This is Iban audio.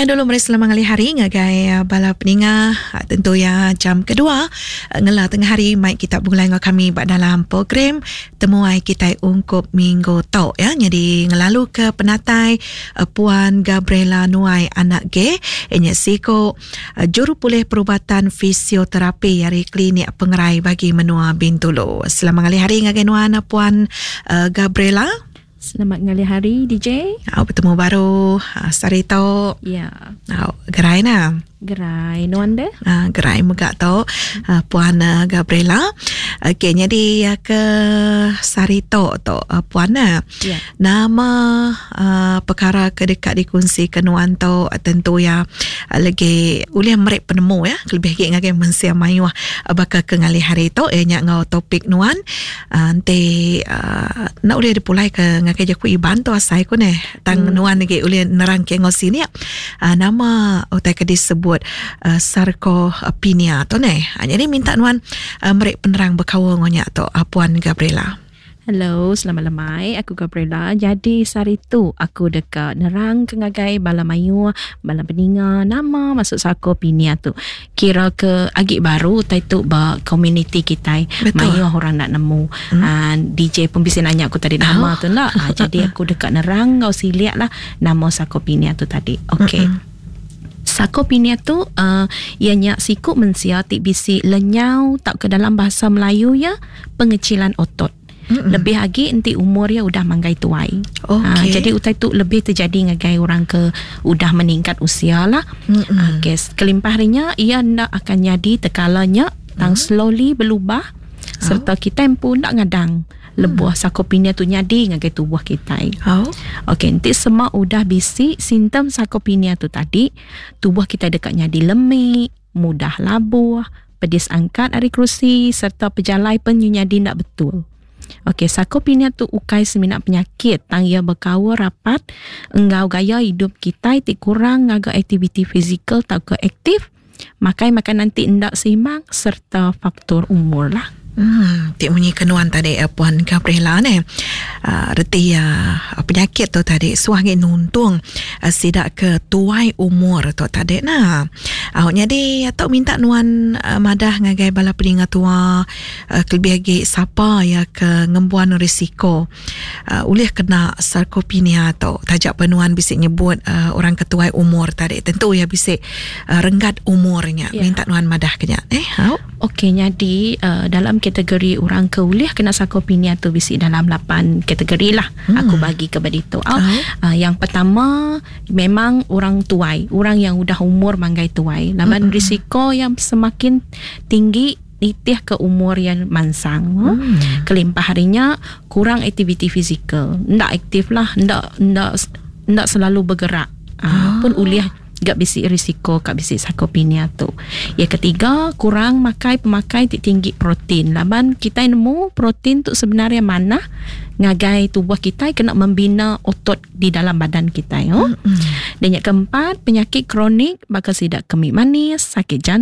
Ya dulu meri selamat ngalih hari ngagai ah, bala peninga ah, tentu ya jam kedua ah, ngela tengah hari mai kita begulai enggau kami ba dalam program temuai kitai ungkup minggu tu ya. Jadi ngelalu ke penatai Puan Gabriela Nuai anak G inya siko jurupulih perubatan fisioterapi ari Klinik Pengerai Bagi Menua Bintulu. Selamat ngalih hari ngagai nuan Puan Gabriela. Selamat ngalih hari DJ. Au betemu baru sehari tu. Ya. Au gerai na. Gerai nuan deh. Gerai mega tu Puan Gabriela. Okey jadi ke sehari tu tu Puan na. Ya. Nama perkara ke deka dikunsika nuan tu tentu iya legi ulih meri penemu ya kelebih agi ngagai mensia mayuh baka ke ngalih hari tu iya nya enggau topik nuan Enti enda ulih dipulai ke ngagai jaku Iban tu asai ku neh. Tang nuan agi ulih nerang ke enggau sinik nama utai ke disebut sarcopenia tu neh. Nyadi minta nuan meri penerang bekaul enggau nya tu Puan Gabriela. Hello, selamat lemai. Aku Gabriela. Jadi sehari tu aku deka nerang ke ngagai bala mayuh, bala peninga nama maksud sarcopenia tu. Kira ke agi baru utai tu ba komuniti kitai. Mayuh orang enda nemu. Aaa DJ pun bisi nanya aku tadi nama tu enda. Aaa jadi aku deka nerang enggau silik lah nama sarcopenia tu tadi. Okey. Sarcopenia tu aaa iya nya siku mensia ti bisi lenyau tauka dalam bahasa Melayu iya pengecilan otot. Lebih agi enti umur iya udah manggai tuai. Okay. Jadi utai tu lebih terjadi ngagai orang ke udah meningkat usia lah. Okey, kelimpah ari nya iya enda akan nyadi tekala nya tang slowly belubah serta kitai empu enda ngadang lebuh sarcopenia tu nyadi ngagai tubuh kitai. Okey, enti sema udah bisi simptom sarcopenia tu tadi, tubuh kitai deka nyadi lemi, mudah labuh, pedis angkat ari kerusi sereta pejalai pen nyu nyadi enda betul. Okey, sarcopenia tu ukai semina penyakit tang iya bekaul rapat enggau gaya idup kitai ti kurang ngaga aktiviti fizikal tauka aktif, makai makanan ti enda seimbang sereta faktor umur lah. Uhh ti munyi ke nuan tadi Puan Gabriela neh. Uhh reti iya penyakit tu tadi suah agi nuntung sida ke tuai umur tu tadi nah. Au nyadi tu minta nuan madah ngagai bala peninga tua kelebih agi sapa iya ke ngembuan risiko ulih kena sarcopenia tu taja pa nuan bisi nyebut orang ke tuai umur tadi tentu iya bisi renggat umur nya minta nuan madah ke nya eh au. Okey nyadi dalam kategori orang ke ulih kena sarcopenia tu bisi dalam lapan kategori lah aku bagi ke ba ditu au. Yang pertama memang orang tuai orang yang udah umur manggai tuai laban risiko yang semakin tinggi nitih ke umur iya mansang. Kelimpah ari nya kurang aktiviti fizikal enda aktif lah enda enda enda selalu bergerak aaa pun ulih ga bisi risiko ka bisi sarcopenia tu. Iya ketiga kurang makai pemakai ti tinggi protein laban kitai nemu protein tu sebenar iya manah ngagai tubuh kitai kena membina otot di dalam badan kitai. Dan nya keempat penyakit kronik baka sida kemi manis, sakit jantung.